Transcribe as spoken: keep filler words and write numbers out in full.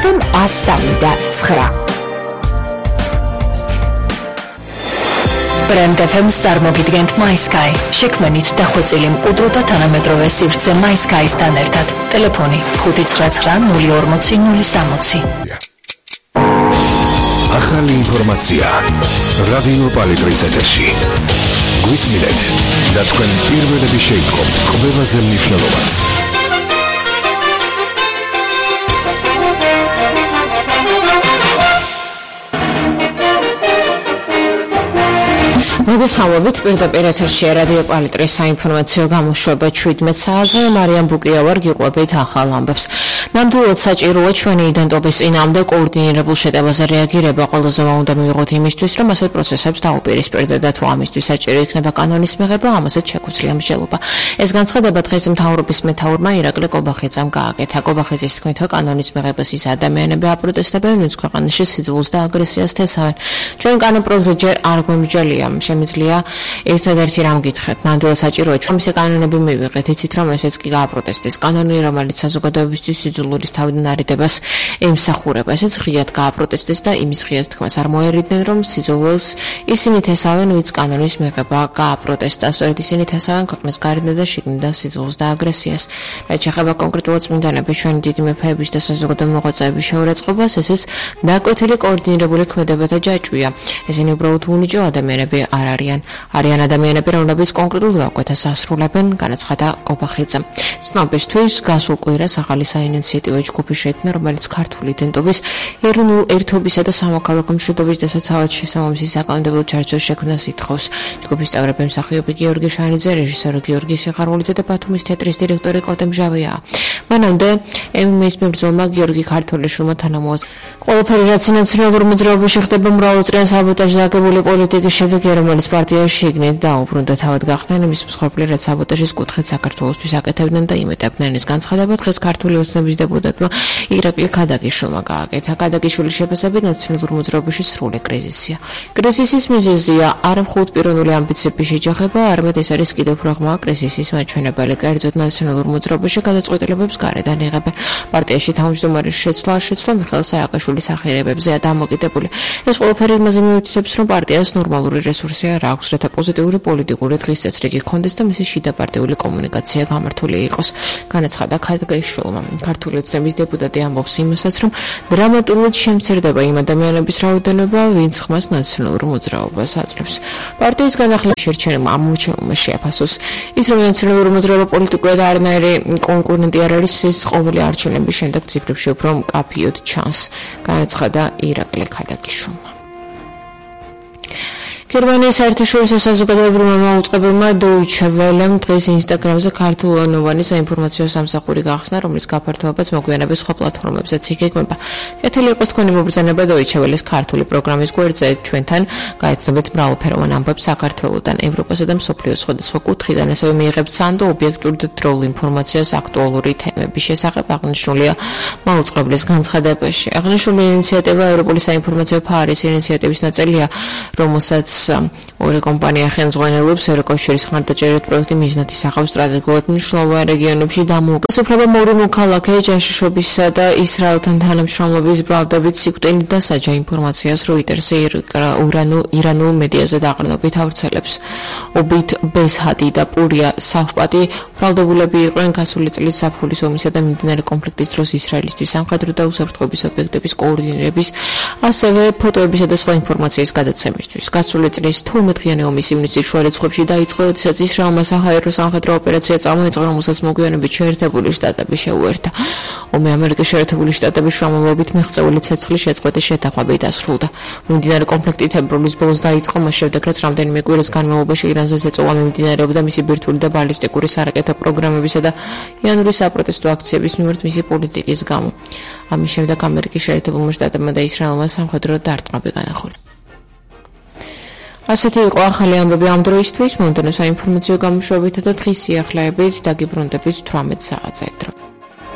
ეფ ემ one oh three და nine. Brand ეფ ემ-ს წარმოგიდგენთ MySky. შექმნით დახვეწილი მყუდრო და თანამედროვე სივრცე MySky-სთან ერთად. ტელეფონი five nine nine null four zero null six zero. ახალი ინფორმაცია რადიო პალიტრის ეთერში. გვისმინეთ და თქვენ პირველები შეიტყობთ ყველაზე მნიშვნელოვანს. მოგესალმებით, პირდაპირ ეთერში რადიო პალიტრის საინფორმაციო გამოშვება seventeen საათზე. მარიამ ბუკია ვარ, გიყვებით ახალ ამბებს. ნამდვილად საჭიროა ჩვენი იდენტობის წინააღმდეგ კოორდინირებულ შეტევაზე რეაგირება. ყველაზე უნდა მივიღოთ იმისთვის, რომ ასეთ პროცესებს დაუპირისპირდეთ და თუ ამისთვის საჭირო იქნება კანონის მიღება, ამასაც შეგვიძლია მსჯელობა. ეს განცხადება დღეს მთავრობის მეთაურმა ირაკლი კობახიძემ გააკეთა. კობახიძის თქმით, კანონის მიღებას ის ადამიანები აპროტესტებენ, ვინც ქვეყანაში სიძულს და აგრესიას თესავენ. ჩვენ კანონპროექტზე ჯერ არ გვიმსჯელია. შემიძლია ერთადერთი რამ გითხრათ, ნამდვილად საჭიროა ჩვენ მისი კანონები მივიღეთ, იცით რომ ესეც კი გააპროტესტეს. კანონი, რომელიც საზოგადოებისთვის სიძულვილის თავიდან არიდებას ემსახურება, ესეც ღიად გააპროტესტეს და იმის ღიად თქმას არ მოერიდნენ, რომ სიძულვილს ისინი თესავენ, ვინც კანონის მიღება გააპროტესტა. სწორედ ისინი თესავენ ქვეყნის გარედან და შიგნიდან სიძულს და აგრესიას. რაც შეეხება კონკრეტულად წმინდანების, ჩვენი დიდი მეფეების და საზოგადო მოღვაწეების შეურაცხყოფას, ესეც დაკვეთილი კოორდინირებული ქმედება და ჯაჭვია. ესენი უბრალოდ უნიჭო ადამიანები არ არიან. არიან ადამიანები, რომლებიც კონკრეტულ გაკვეთას ასრულებენ, განაცხადა კობახიძემ. ცნობისთვის, გასულ კვირას ახალი საინიციატივო ჯგუფი შეიქმნა, რომელიც ქართული იდენტობის, ეროვნულ ერთობისა და სამოქალაქო მშვიდობის დასაცავად შესაბამისი საკანონმდებლო ჩარჩოს შექმნას ითხოვს. ჯგუფის წევრები მსახიობი გიორგი შანიძე, რეჟისორი გიორგი სიხარულიძე და ბათუმის თეატრის დირექტორი კოტე მჟავია. მანამდე ემ ემ ეს მებრძოლმა გიორგი ქართველიშვილმა თანამოაზრდა. ყველაფერი რაც ნაციონალურ მოძრაობაში ხდება მრავალწლიან საბოტაჟზე აგებული პოლიტიკის შედეგია, რომელიც პარტიაში შიგნით დაუბრუნდა თავად გახდნენ იმის მსხვერპლი, რაც საბოტაჟის კუთხით საქართველოსთვის აკეთებდნენ და იმეტებდნენ. ეს განცხადება დღეს ქართული ოცნების დეპუტატმა ირაკლი ქადაგიშვილმა გააკეთა. ქადაგიშვილის შეფასებით ნაციონალურ მოძრაობაში სრული კრიზისია. კრიზისის მიზეზია არა მხოლოდ პიროვნული ამბიციების შეჯახება, არამედ ეს არის კიდევ პრაღმა კრიზისის მაჩვენებელი. კერძოდ ნაციონალურ მოძრაობაში გადაწყვეტილებებს გარედან იღებენ. პარტიაში თავმჯდომარის შეცვლა შეცვლა მიხეილ სააკაშვილის ახირებებზეა დამოკიდებული. ეს ყველაფერი იმაზე მიუთითებს, რომ პარტიას ნორმალური რესურსი არ აქვს, რათა პოზიტიური პოლიტიკური დღის წესრიგი ჰქონდეს და მისი შიდა პარტიული კომუნიკაცია გამართული იყოს. განაცხადა ქადაგიშვილმა. ქართული ოცნების დეპუტატი ამბობს იმასაც, რომ დრამატულად შემცირდება იმ ადამიანების რაოდენობა, ვინც ხმას ნაციონალურ მოძრაობას აძლევს. პარტიის განახლების შერჩენება ამორჩეულმა შეაფასოს. ის რომ ნაციონალური მოძრაობა პოლიტიკურად არანაირი კონკურენტი არ არის, ის ყოველი არჩევნების შემდეგ ციფრებში უფრო მკაფიოდ ჩანს. განაცხადა ირაკლი ქადაგიშვილმა. გერმანიის საერთაშორისო საზოგადოებრივმა მაუწყებელმა Deutsche Welle-მ დღეს ინსტაგრამზე ქართულენოვანი საინფორმაციო სამსახური გახსნა, რომლის გაფართოებაც მოგვიანებით სხვა პლატფორმებზეც იგეგმება. კეთილი იყოს თქვენი მობრძანება Deutsche Welle-ს ქართული პროგრამის გვერდზე. ჩვენთან გაეცნობათ მრავალფეროვან ამბებს საქართველოდან, ევროპასა და მსოფლიოს სხვადასხვა კუთხიდან, ასევე მიიღებთ სანდო ობიექტურ და დროულ ინფორმაციას აქტუალური თემების შესახებ, აღნიშნულია მაუწყებლის განცხადებაში. აღნიშნული ინიციატივა ევროპული საინფორმაციო ფარის ინიციატივის ნაწილია, რომელსაც ორი კომპანია ხელმძღვანელობს. ევროკავშირის ხმარდაჭერით პროექტი მიზნად ისახავს სტრატეგიულად მნიშვნელოვან რეგიონებში დამოუკიდებლობა. სოფლებო მოქალაქე ჯაშუშობისა და ისრაელთან თანამშრომლობის ბრალდებით სიკვდილით და საჯა ინფორმაციას როიტერსი ირანულ მედიაზე დაყრდნობით ავრცელებს. ობით ბესჰადი და პურია საფპატი ბრალდებულები იყვნენ გასული წლის ზაფხულის ომისა და მიმდინარე კონფლიქტის დროს ისრაელისთვის სამხედრო და უსაფრთხოების ობიექტების კოორდინირების, ასევე ფოტოებისა და სხვა ინფორმაციის გადაცემისთვის. გასული წლის თორმეტ-დღიანი ომის ივნისის შუა რიცხვებში დაიწყო, როდესაც ისრაელმა საჰაერო სამხედრო ოპერაცია წამოიწყო, რომელსაც მოგვიანებით შეერთებული შტატები შეუერთა. ომი ამერიკის შეერთებული შტატების შრომლობით მიღწეული ცეცხლის შეწყვეტის შეთანხმებით დასრულდა. მიმდინარე კონფლიქტი თებერვლის ბოლოს დაიწყო, მას შემდეგ რაც რამდენიმე კვირის განმავლობაში ირანზე ზეწოლა მიმდინარეობდა მისი ბირთვული და ბალისტიკური სარაკეტო პროგრამებისა და იანვრის საპროტესტო აქციების მიმართ მისი პოლიტიკის გამო. ამის შემდეგ ამერიკის შეერთებულმა შტატებმა და ისრაელმა სამხედრო დარტყმები განახორციელა. ასეთი იყო ახალი ამბები ამ დროისთვის. მომდევნო საინფორმაციო გამოშვებითა და დღის სიახლეებით დაგიბრუნდებით თვრამეტ საათზე.